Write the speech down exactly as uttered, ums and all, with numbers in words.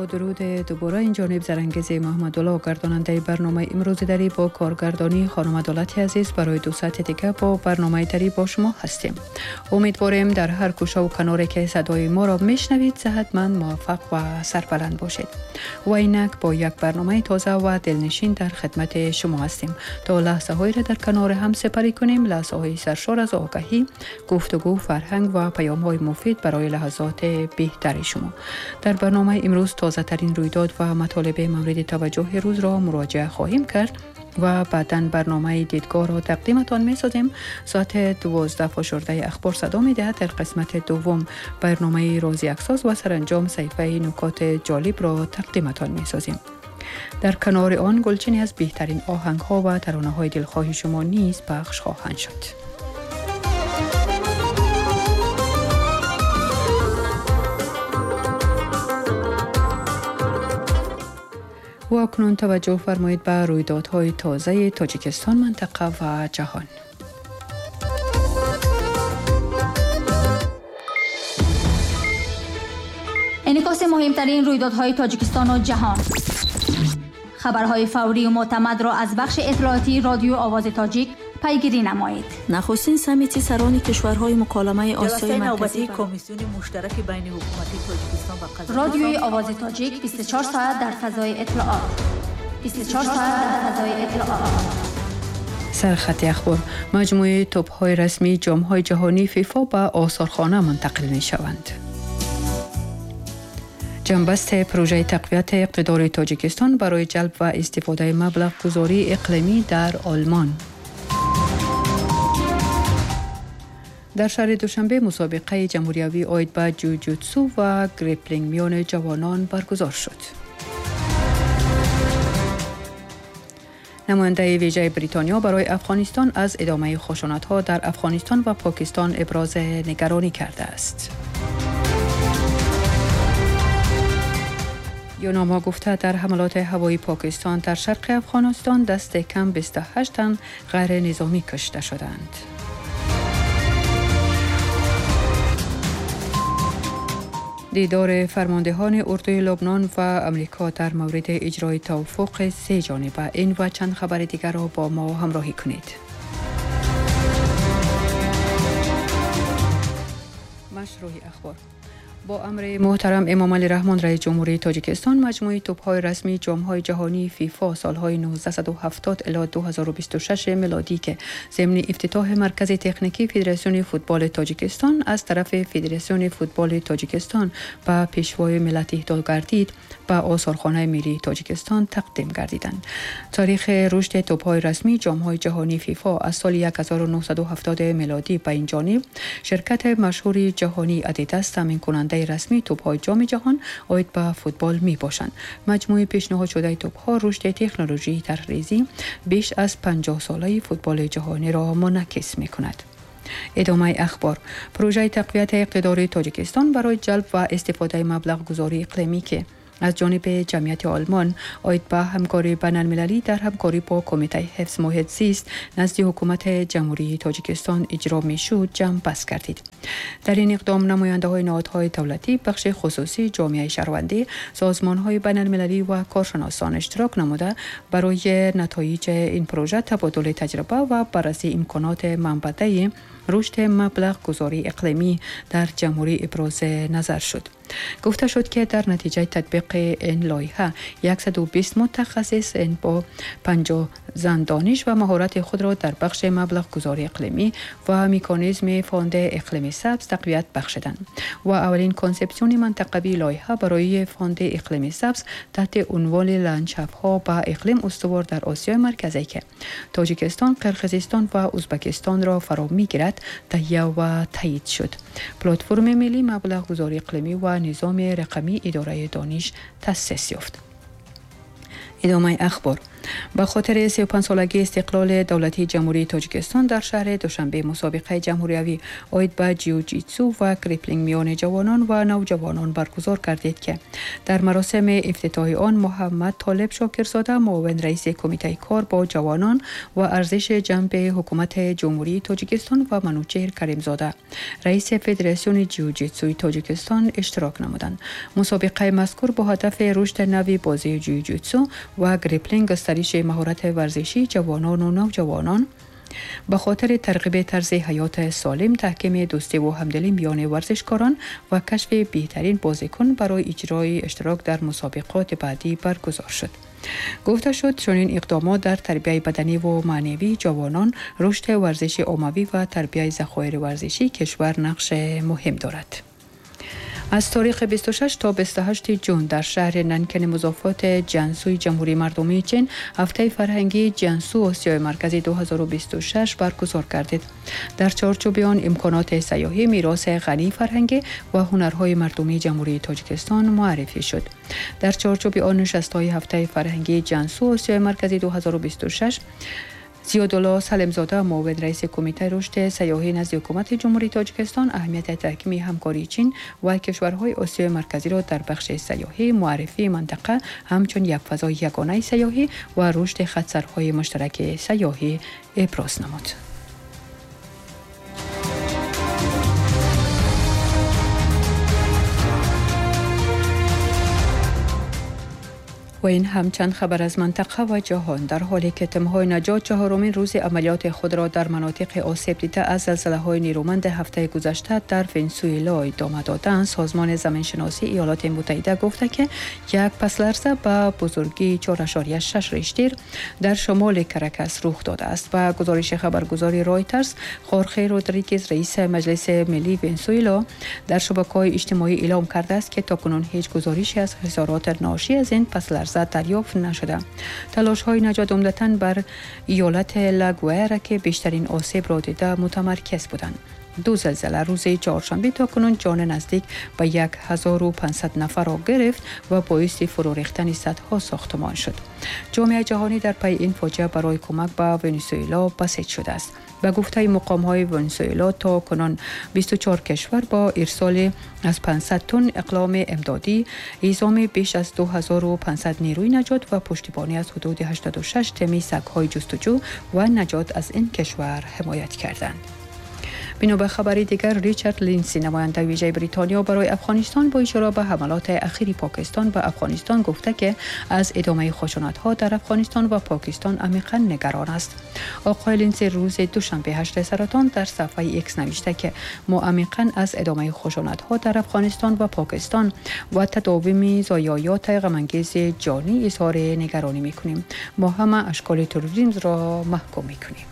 درود دوباره این جانب زرنگیز محمدالله گرداننده برنامه امروز دری با کارگردانی خانم عدالت عزیز برای دو ساعت دیگه با برنامه دری با شما هستیم. امیدواریم در هر گوشه و کناری که صدای ما را میشنوید صحتمند، موفق و سربلند باشید. و اینک با یک برنامه تازه و دلنشین در خدمت شما هستیم تا لحظه هایی را در کنار هم سپری کنیم، لحظه های سرشار از آگاهی، گفتگو، فرهنگ و پیام های مفید برای لحظات بهتر شما. در برنامه امروز تازه ترین رویداد و مطالب مورد توجه روز را مراجعه خواهیم کرد و بعداً برنامه دیدگاه را تقدیمتان می‌سازیم. ساعت دوازده فشرده اخبار صدا می‌دهد. در قسمت دوم برنامه روزی اکساس و سرانجام صحیفه نکات جالب را تقدیمتان می‌سازیم. در کنار آن گلچینی از بهترین آهنگ‌ها و ترانه‌های دلخواه شما نیز پخش خواهند شد. و اکنون توجه فرمایید به رویدادهای تازه تاجیکستان، منطقه و جهان. انعکاس مهمترین رویدادهای تاجیکستان و جهان، خبرهای فوری و معتمد را از بخش اطلاعاتی رادیو آواز تاجیک پیگیری نمایید. نخستین سمیتی سران کشورهای مکالمه آسیای مرکزی، کمیسیون مشترک بین حکومتی تاجیکستان و قزاقستان. رادیوی آواز تاجیک بیست و چهار ساعت در فضای اطلاعات. بیست و چهار ساعت در فضای اطلاعات. سرخط اخبار: مجموعه توپ‌های رسمی جام‌های جهانی فیفا به آثارخانه منتقل می‌شوند. جنبست پروژه تقویت اقتدار تاجیکستان برای جلب و استفاده مبلغ گذاری اقلیمی در آلمان. در شهر دوشنبه مسابقه جمهوریوی عاید به جوجوتسو و گریپلینگ میان جوانان برگزار شد. نماینده ویژه بریتانیا برای افغانستان از ادامه خشونت‌ها در افغانستان و پاکستان ابراز نگرانی کرده است. یوناما گفته در حملات هوایی پاکستان در شرق افغانستان دست کم بیست و هشت تن غیر نظامی کشته شدند. دیدار فرماندهان اردوی لبنان و امریکا در مورد اجرای توافق سه جانبه. این و چند خبر دیگر را با ما همراهی کنید. مشروع اخبار: با امر محترم امام علی رحمان رئیس جمهوری تاجیکستان، مجموعه توپ‌های رسمی جام‌های جهانی فیفا سالهای نوزده هفتاد الی دو هزار و بیست و شش میلادی که ضمن افتتاح مرکز تکنیکی فدراسیون فوتبال تاجیکستان از طرف فدراسیون فوتبال تاجیکستان به پیشوای ملت اهدا گردید، به آثارخانه ملی تاجیکستان تقدیم گردیدند. تاریخ رشد توپ‌های رسمی جام‌های جهانی فیفا از سال هزار و نهصد و هفتاد میلادی به این جانب، شرکت مشهور جهانی ادیداس تامین کننده رسمی توپ‌های جام جهان عاید به فوتبال می باشند. مجموعه پیشنهاد شده توپ‌ها رشد تکنولوژی طرح‌ریزی بیش از پنجاه ساله فوتبال جهانی را منعکس می کند. ادامه اخبار: پروژه تقویت اقتدار تاجیکستان برای جلب و استفاده مبلغ گذاری اقلیمی که از جانب جمعیت آلمان عاید به همکاری بین المللی در همکاری با کمیته حفظ محیط زیست نزد حکومت جمهوری تاجیکستان اجرا میشد جمع بست گردید. در این اقدام نماینده های نهادهای دولتی، بخش خصوصی، جامعه شهروندی، سازمان های بین المللی و کارشناسان اشتراک نموده برای نتایج این پروژه تبادل تجربه و بررسی امکانات منبع رشد مبلغ گذاری اقلیمی در جمهوری ابراز نظر شد. گفته شد که در نتیجه تطبیق این لایحه صد و بیست متخصص این با پنجاه زن دانش و مهارت خود را در بخش مبلغ گذاری اقلیمی و مکانیزم فاند اقلیم سبز تقویت بخشیدند و اولین کنسپسیون منطقوی لایحه برای فاند اقلیم سبز تحت عنوان لندشافت‌ها به اقلیم استوار در آسیای مرکزی که تاجیکستان، قرقیزستان و ازبکستان را فرا می‌گیرد تهیه و تایید شد. پلتفرم ملی مبلغ گذاری اقلیمی و نظام رقمی اداره دانش تأسیس یافت. ادامه اخبار: به خاطر سی و پنج سالگی استقلال دولتی جمهوری تاجیکستان در شهر دوشنبه مسابقه جمهوریوی عاید به جیوجیتسو و گریپلینگ میان جوانان و نوجوانان برگزار کردید که در مراسم افتتاح آن محمد طالب شاکرزاده معاون رئیس کمیته کار با جوانان و ارزش جنب حکومت جمهوری تاجیکستان و منوچهر کریمزاده رئیس فدراسیون جیوجیتسوی تاجیکستان اشتراک نمودند. مسابقه مذکور با هدف رشد نوی بازی جیوجیتسو و گریپلینگ گسترش مهارت ورزشی جوانان و نوجوانان به خاطر ترغیب طرز حیات سالم، تحکیم دوستی و همدلی میان ورزشکاران و کشف بهترین بازیکن برای اجرای اشتراک در مسابقات بعدی برگزار شد. گفته شد چنین اقدامات در تربیت بدنی و معنوی جوانان، رشد ورزش عاموی و تربیت ذخایر ورزشی کشور نقش مهم دارد. از تاریخ بیست و شش تا بیست و هشت جون در شهر ننکن مضافات جنسوی جمهوری مردمی چین هفته فرهنگی جنسو آسیای مرکزی دو هزار و بیست و شش برگزار گردید. در چارچوب آن امکانات سیاحی، میراث غنی فرهنگی و هنرهای مردمی جمهوری تاجیکستان معرفی شد. در چارچوب آن نشست‌های هفته فرهنگی جنسو آسیای مرکزی دو هزار و بیست و شش زیادالله سلمزاده معاون رئیس کمیته رشد سیاحی نزد حکومت جمهوری تاجیکستان اهمیت تحکیم همکاری چین و کشورهای آسیای مرکزی را در بخش سیاحی، معرفی منطقه همچون یک فضای یگانه سیاحی و رشد خطسرهای مشترک سیاحی ابراز نمود. و این هم چند خبر از منطقه و جهان. در حالی که تیم‌های نجات چهارمین روز عملیات خود را در مناطق آسیب دیده از زلزله‌های نیرومند هفته گذشته در ونزوئلا ادامه دادند، سازمان زمینشناسی ایالات متحده گفته که یک پس لرزه به بزرگی چهار اعشاریه شش ریشتر در شمال کرکس رخ داده است. و گزارش خبرگزاری رایترز، خورخه رودریگز رئیس مجلس ملی ونزوئلا در شبکه‌های اجتماعی اعلام کرده است که تاکنون هیچ گزارشی از خسارات ناشی از این پس لرزه دریافت نشده. تلاش های نجات عمدتاً بر ایالت لاگوئرا که بیشترین آسیب را دیده متمرکز بودند. دو زلزله روز چهارشنبه تا کنون جان نزدیک به یک هزار و پانصد نفر را گرفت و باعث فرو ریختن صدها ساختمان شد. جامعه جهانی در پی این فاجعه برای کمک به ونزوئلا بسیج شده است. به گفته مقام‌های ونزوئلا تا کنون بیست و چهار کشور با ارسال از پانصد تن اقلام امدادی، اعزام بیش از دو هزار و پانصد نیروی نجات و پشتیبانی از حدود هشتاد و شش تیم سگ‌های جستجو و نجات از این کشور حمایت کردند. بنا به خبری دیگر، ریچارد لینسی نماینده ویژه بریتانیا برای افغانستان با اشاره به حملات اخیر پاکستان به افغانستان گفته که از ادامه خشونت‌ها در افغانستان و پاکستان عمیقاً نگران است. آقای لینسی روز دوشنبه هشت سرطان در صفحه ایکس نوشته که ما عمیقاً از ادامه خشونت‌ها در افغانستان و پاکستان و تداوم ضایعات غم‌انگیز جانی اظهار نگرانی می‌کنیم. ما همه اشکال تروریسم را محکوم می‌کنیم.